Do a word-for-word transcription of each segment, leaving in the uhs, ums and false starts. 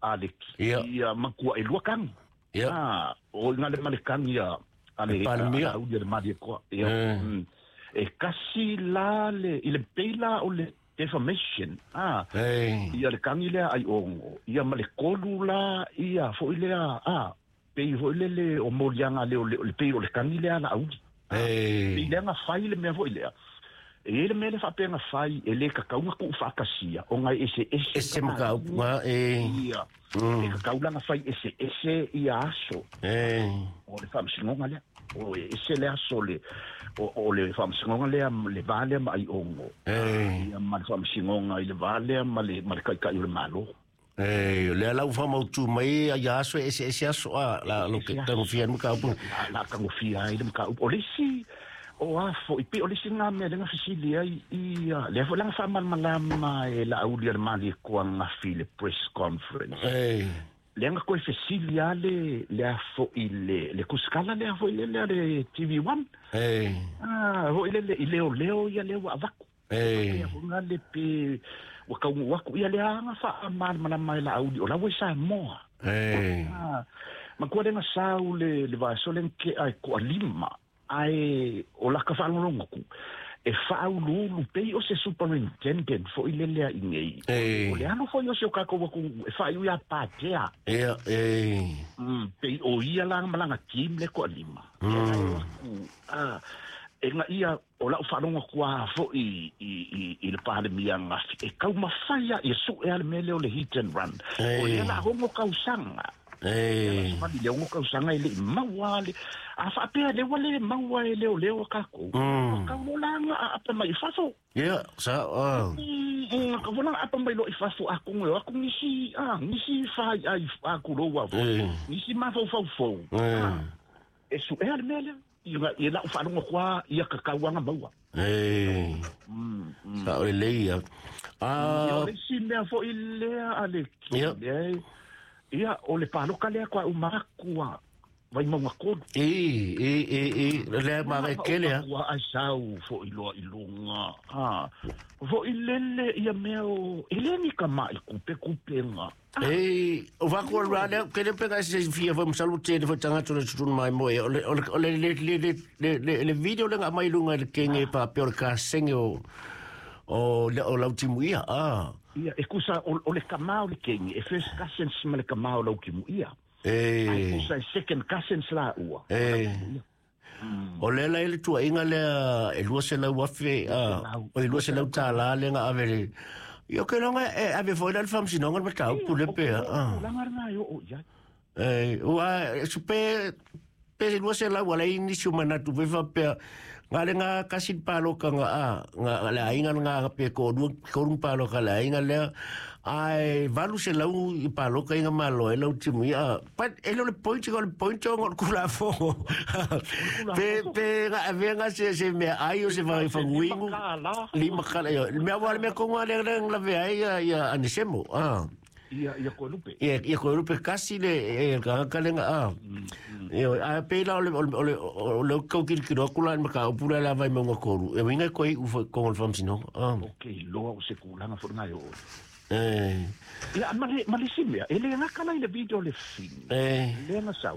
Aleki. Ia. Ia makua e lua kani. Ia. Ah, o ngale male kani ia ale Palemia. a uli le mali ko. Ia. Eh. Mm. E kasi la le i le peila o le defamation. Ah, E ia le kani lea ai ongo. Ia ma le kolu la ia fo ile a pei fo ile le o molianga le o le, le pei o le kani lea la auli. E Pei lea nga fai le mea fo ile a. E le mea le whapenga fai e le kakau ku whakasia o ngai ese ese Ese makaupu nga e ia Mm. e kakau langa fai ese ese ia aso E o le whamsingonga lea o e ese le aso le o, o le whamsingonga lea le vā lea ma ai ongo E ia ma le whamsingonga i le vā lea ma le, ma le kaikai o le malo. E le ala ufa mautu mai a ia aso e ese ese aso a la lo ke tangofia makaupu. La, la kangofia ai le makaupu o le isi o afo i pe o le isi ngā mea le ngā fesili ai ia le afo langa whamalmalama e la auli a le mali e kua ngafi le press conference. E Le nga koe fesili a le le afo i le le kuskala le afo i le le le T V one. E Ah, ho i le le i leo leo ia leo a vaku. E Ia ho nga le pe wa kau waku ia le anga fa mal mana mai la auli o la we sa moa. E Ah, ma kua lenga sau le le va so le ke ai ko lima ai o la ka whalongo ku. E whaululu pei o se superintendent fo i lelea i nei. E O le alo fo i o se o kako waku e whaiu ia pātea. E e Mm, pei o ia langa malanga team le ko lima. Mm. Ah, e nga ia o lau whalongo kua fo i, i, i, i le pālemia ngafi. E kau mawhaia i su e ale mele o le hit and run. E O ia la hongo kausanga. E Mali le hongo kausanga i le maua le. A whaapea le wale maua e leo leo kako. Mm. Kau lolanga a apa mai faso. Ia sa ah. Mm, ka volanga apa mai lo i faso a kongo aku nisi ah nisi fai ai a kuroa. E Nisi ma fau fau fau. E E su e ale mele. Ia ia la whalongo kwa ia kakauanga maua. E Mm. mm. Sa o le leia. Ia Ah o le si mea fo i lea ale ki. Ia. Ia, ia o le paloka lea kwa umakua. Vai maunga kolu. E e e e le ma e kele ha. Ua ai sau fo i loa i lunga. Ha. Fo i lele ia mea o e le ni ka mai kupe kupenga. E o va ko ra le ke le pega se fia fo msalu te le tanga to le tun mai mo e o le o le le le le le le video le mai lunga le kenge pa pe o ka senge o o le o lau timu ia ah. Ia e kusa o, o le kamau le kenge e first cousins ma le kamau lau kimu ia. E Ai kusa e second cousins la ua. E o le la ele tua inga le e lua se lau afe a o e lua se lau tala le nga ave le yo ke longa e ave foi la fam sinonga ma tau pule pe ah. Langa nga yo o ia. E ua supe pe lua se lau ala ini si mana tu pe fa pe nga le nga kasi palo ka nga a nga le ainga nga pe ko du ko rung palo ka le ainga le ai valu se lau i palo ka inga malo e lau timu ia pat e lo le point ko le point ngo kula fo pe pe nga ave nga se se me ai o se va fa wingu lima kala yo me wa me ko nga le le la ve ai ia anisemo ah. Ia ia ko lupe. Ia ia ko lupe kasi le e ka ka le nga a. Ia a pe la o le o le o le ko ki ki ro kula ma ka o pula la vai mo ngokoru. E winga ko i u ko ngol fam sino. Ah. Okay, loa o se kulanga fo nga yo. Eh. Ia ma le ma le simia, e le nga kala i le video le fin. Eh. Le nga sau.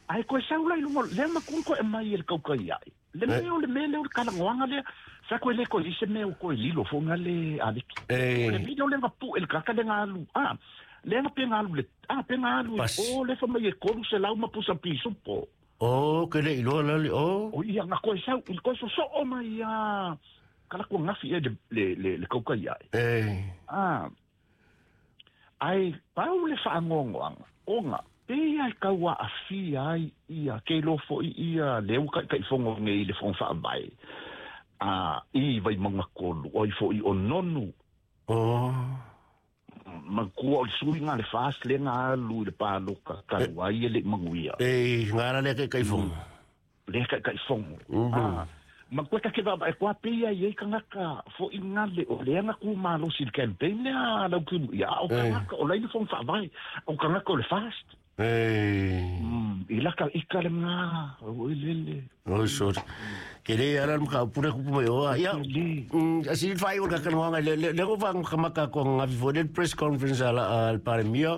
Ai ko sau la ilumo le ma kun ko e mai el kauka ia. Le me o le me le o kala ngoanga le sa ko le ko i se me o ko lilo fo nga le aleki. Eh. Le video le nga pu el kaka le nga alu. Ah, le nga pe nga alu le ah pe nga alu o le fa mai e koru se lau ma pusa piso po. Oh, ke le ilo la le oh. O ia nga ko sau il ko so so o mai ia kala ko ngafi e le le le kauka ia. Eh. Ah. Ai pau le fa ngongoanga. Onga pe ia kaua a fi ai ia ke lofo i ia le uka kai fongo nge le fongo fa mai. A i vai manga kolu o i fo i o nonu. Oh. Ma kua o sui ngā le fas le ngā alu le pāloka ka wai le manguia. E ngā le kai kai fongo. Le kai kai fongo. Ah. Ma kua take va e kua pe ia i kangaka fo i ngā le o le anga ku malo si le campaign le a lau kimu ia o kangaka o lai le fongo fa vai o kangaka o le fast. Eh. Mm, i laka i ka le ngā o i lele. Oh, sorry. Ke le ala mka pure ku mai o ia. Mm, asi fai o ka kanwanga le le go fa ka maka ko nga vi press conference ala al paremia.